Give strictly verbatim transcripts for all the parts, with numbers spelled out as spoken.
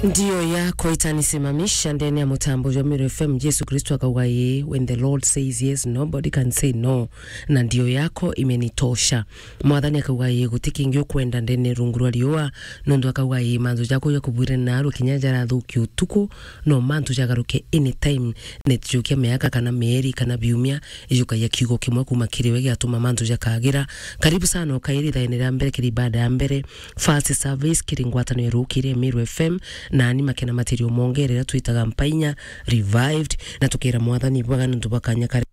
Ndio yako itanisimamisha ndene ya mutambo jwa Meru F M. Jesu Kristo akauga, "Ii, when the Lord says yes, nobody can say no." Na ndio yako imenitosha. Mwathani akauga, "Ii, guti kingi ukwenda ndene rungu rwa riua." Nontu akauga, "Ii, mantu jaku ja kubwire naru kinya jarathukia utuku, no mantu jagaruke anytime." Netijukia miaka kana mieri kana biumia, ijukagia kiugo kimwe kuma kiri we giatuma mantu jakagira. Karibu sana ukairi thaene ria mbere kiri ibada ya mbere. First service kiri ngwataniro irukiire Meru F M, na ni makena matirio mongerera twitaga Mpainya Revived, na tukira Mwathani bwega nontu bwa kanya kari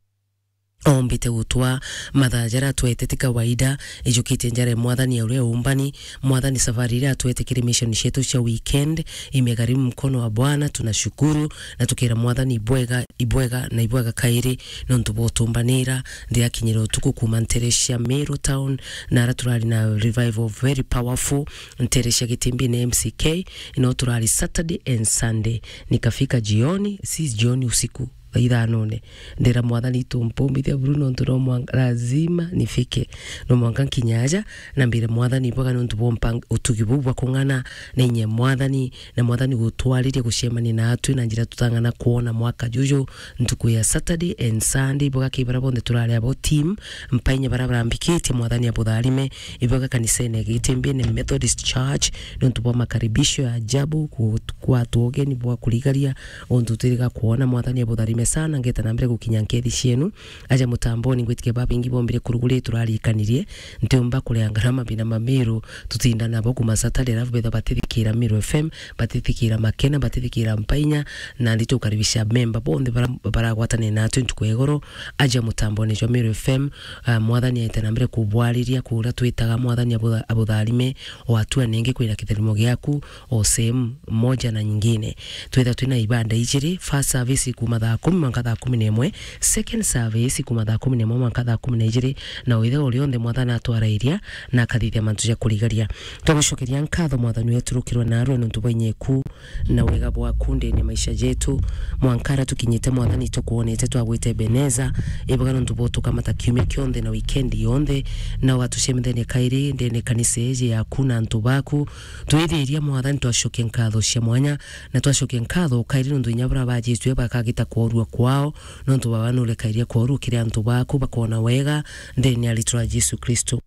ombite gutwa mathaa jaria atwete ti kawaida, ijukitie njara ya Mwathani ya uria umbani. Mwathani safari iria atwete kiri mission cietu cia weekend, imegharimu mkono wa Bwana, tunashukuru, na tukira Mwathani ibwega, ibwega na ibwega kairi, nontu bwa utumbanira, ndiakinyire utuku kuma ntere cia Meru town, na ara turari na revival very powerful, ntere cia Gitimbine M C K, ino turari Saturday and Sunday, nikafika jioni, si jioni, usiku, thaa ithanone. Ndira Mwathani, "Itu mpumbithia buru nontu no mwanka, lazima nifike. No mwanka nkinye aja, na mbire Mwathani bwega nontu bwa mpang-, utugi buu bwa kung'ana na inye Mwathani, na Mwathani gutwariria gucemania naatwi na njira tutang'ana kwona mwaka juju, ntuku ya Saturday and Sunday, bwega ki bara bonthe turari abo team, Mpainya bara barambikitie, Mwathani abutharime, ibwega kanisene ya Gitimbine Methodist Church, nontu bwa makaribisho ya ajabu, ku-, kwatwa ugeni bwa kurigaria, untu twiriga kwona. Mwathani abutharime sana, ngeta na mbere gukinya nkethi cienu. Aja mutamboni, ngwitikia babingi bombire kuruguri turarikanirie, ntiumba kuria ngarama bina mamiru, tutinda nabo kuma Saturday, alafu betha batithikira Meru F M, batithikira Makena, batithikira Mpainya, na ndi tukaribisha memba bonthe bara-, baragwatane natwi ntuku ya igoro. Aja mutamboni jwa Meru F M, ah, Mwathani aite na mbere kubwariria kuria twitaga, Mwathani abutha-, abutharime, o atua nengi kwina kitharimo giaku, o sehemu moja na nyingine. Twitha twina ibanda ijiri, first service kuma thaa kumi mwanka thaa kumi na imwe, second service kuma thaa kumi na imwe mwanka thaa kumi na ijiri, na withe o rionthe Mwathani atwarairia na akathithia mantu ja kurigaria. Twagucokeria nkatho Mwathani wetu rukirwe narwe nontu bwa inyeku na wega bwaku ndene ya maisha jetu. Mwanka ara tukinyite Mwathani tukwonete twagwite Ebeneza, ibwega nontu bwa utukamata kiumia kionthe na weekend yonthe, na ugatucemithania kairi ndene kanisa iji yaku na antu baku. Twithiria Mwathani twacokia nkatho cia mwanya, na twacokia nkatho kairi nontu inya bara bajitue bakagita kworua kwao, nontu baba nurekaire kworua kiri antu baku bakona wega ndene ya ritwa ria Jesu Kristo.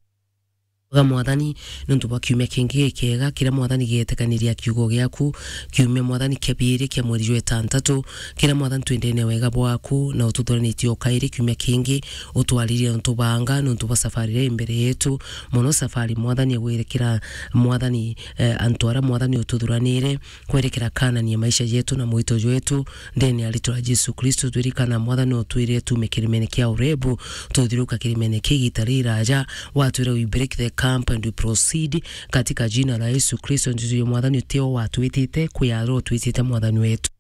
Ga Mwathani, nontu bwa kiumia kingi gikega, kiria Mwathani gietekaniria kiugo giaku, kiumia Mwathani kia biiri kia mweri jwa itantatu, kiria Mwathani twendene wega bwaku, na ututhuranitie o kairi kiumia kingi, utwaririe nontu banga, nontu bwa safari iria i mbere yetu, mono safari Mwathani ya gwerekera Mwathani, eh, antu aria Mwathani ututhuranire, kwerekera kanani ya maisha jetu na mwito jwetu, ndene ya ritwa ria Jesu Kristo, twirikana Mwathani utwirire tume kirimene kia Orebu, tuthiruka kirimene kia igita riraja, watwira, "We break the camp and we proceed," katika jina la Yesu Kristo, ntuju ya Mwathani utio watwitite, kwi aro utwitite Mwathani wetu.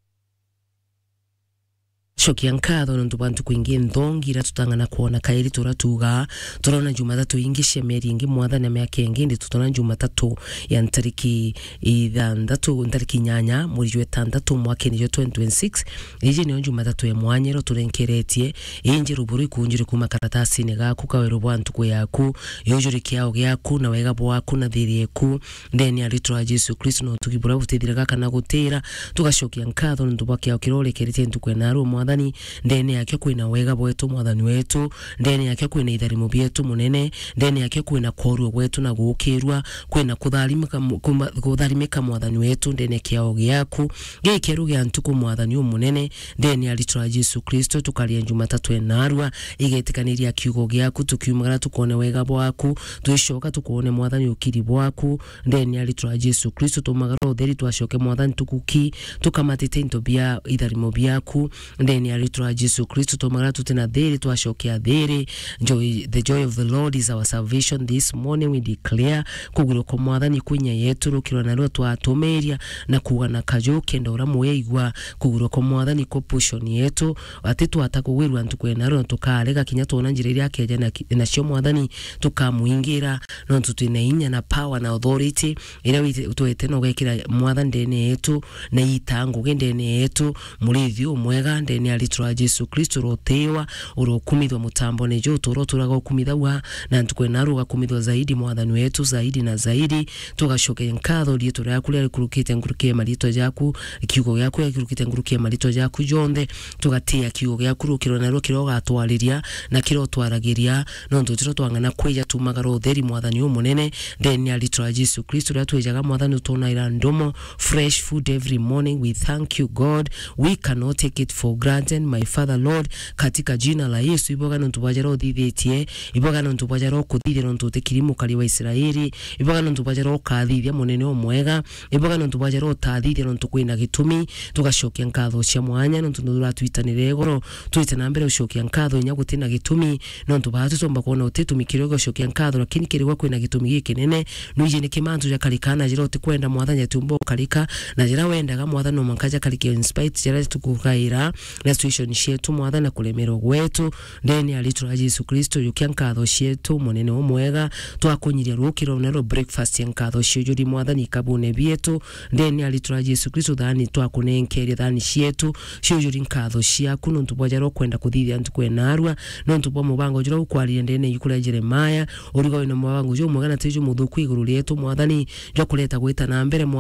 Cokia nkatho nontu bwa ntuku ingi nthongi iria tutang'ana kwona kairi turia tuugaa. Turona Jumatatu ingi cia mieri ingi mwathani na miaka ingi, indi tutona Jumatatu ya ntariki ithanthatu, ntariki inyanya, mweri jwa itantatu, mwakene jwa twenty twenty-six. Iji niyo Jumatatu ya mwanya iria turenkeretie, inji ruburu ikunjire kuma karatasine gaku, kaweru bwa ntuku yaku, yujuri kiao giaku, na wega bwaku, na thiri eku, ndene ya ritwa ria Jesu Kristo, na utugi buria butithiraga kana gutira. Tugacokia nkatho nontu bwa kiao kiria urekeretie ntuku ya narua, Mwathani. Ndene yakio kwina wega bwetu, Mwathani wetu. Ndene yakio kwina itharimo bietu, Munene. Ndene yakio kwina kworua gwetu na guukirua, kwina kutharimika mu-, kuma-, kutharimika, Mwathani wetu, ndene ya kiao giaku gikieru gia ntuku, Mwathani umunene. Ndene ya ritwa ria Jesu Kristo, tukaria Jumatatu ya narua, igetikaniria kiugo giaku, tukiumagara tukone wega bwaku, twicoka tukone, Mwathani, ukiri bwaku. Ndene ya ritwa ria Jesu Kristo, tumagara utheri, twacoke, Mwathani, tukuki, tukamatite into bia itharimo biaku. Ndene ya ritwa ria Jesu Kristo, tumagara tutina thiri, twacokia thiri. Joy, the joy of the Lord is our salvation. This morning we declare kugwirwa kwa Mwathani kwinya yetu, rukirwa narua twatumiria na kuuga na kaju kenda uria muya igua. Kugwirwa kwa Mwathani kwa portion yetu, ati twata kugwirwa ntuku ya narua, tukarega kinya twona njira iria akeja na ki-, nacio, Mwathani, tukamuingira, nontu twina inya na power na authority iria wite-, twete na ugekira, Mwathani, ndene yetu, na ita ngugi ndene yetu, murithi umwega ndene ni aritwa a Jesu Kristo, urotiwa, urokumithwa mutambone juu, turo turaga ukumithagwa, na ntuku ena rugakumithwa zaidi, mwathani wetu, zaidi na zaidi. Tugacokeria nkatho riitwa riaku riria rikurukite nkuruki ya maritwa jaku, kiugo giaku gikurukite nkuruki ya maritwa jaku jonthe. Tugatia kiugo giaku rukiro narua kiria ugatwariria na kiria utwaragiria, nontu tiro twang'ana kwija tumagara utheri, mwathani umunene, ndeni ya riitwa ria Jesu Kristo, riria twijaga, mwathani, utunaira ndomo, fresh food every morning. We thank you, God. We cannot take it for granted, my Father, Lord, katika jina la Yesu. Iboga nontu bwa jara uthithitie, iboga nontu bwa jara ukuthithia, nontu utikiri mukari wa Israeli, iboga nontu bwa jara ukathithia, munene umwega, iboga nontu bwa jara utathithia, nontu kwina gitumi. Tugacokia nkatho cia mwanya nontu nuratwitanire igoro, twite na mbere ucokia nkatho inya gutina gitumi, nontu baa tutomba kwona uti gitumi kiria ugacokia nkatho, lakini kirigwa kwina gitumi gikinene. Nwiji ni kimantu jakarika na jira utikwenda, mwathani, atiumba ukarika, na jira wendaga, mwathani, no mwanka jakarike in spite jara tukugaira na situation cietu, mwathani, na kuremerwa gwetu. Ndeni ya riitwa ria Jesu Kristo, jukia nkatho cietu, munene umwega, twakunyiria rukiro na ro breakfast ya nkatho ciujuri, mwathani, ikabune bietu. Ndeni ya riitwa ria Jesu Kristo, thani twakunenkeria thani cietu, ciujuri nkatho ciaku, nontu bwa jara ukwenda kuthithia ntuku enarua, nontu bwa mubango jura ukwariria ndene yuku ria Jeremaya, uriga wina mubango jumwega na ti jumuthuku iguru rietu, mwathani, jwa kureta gwita na mbere, mwathani.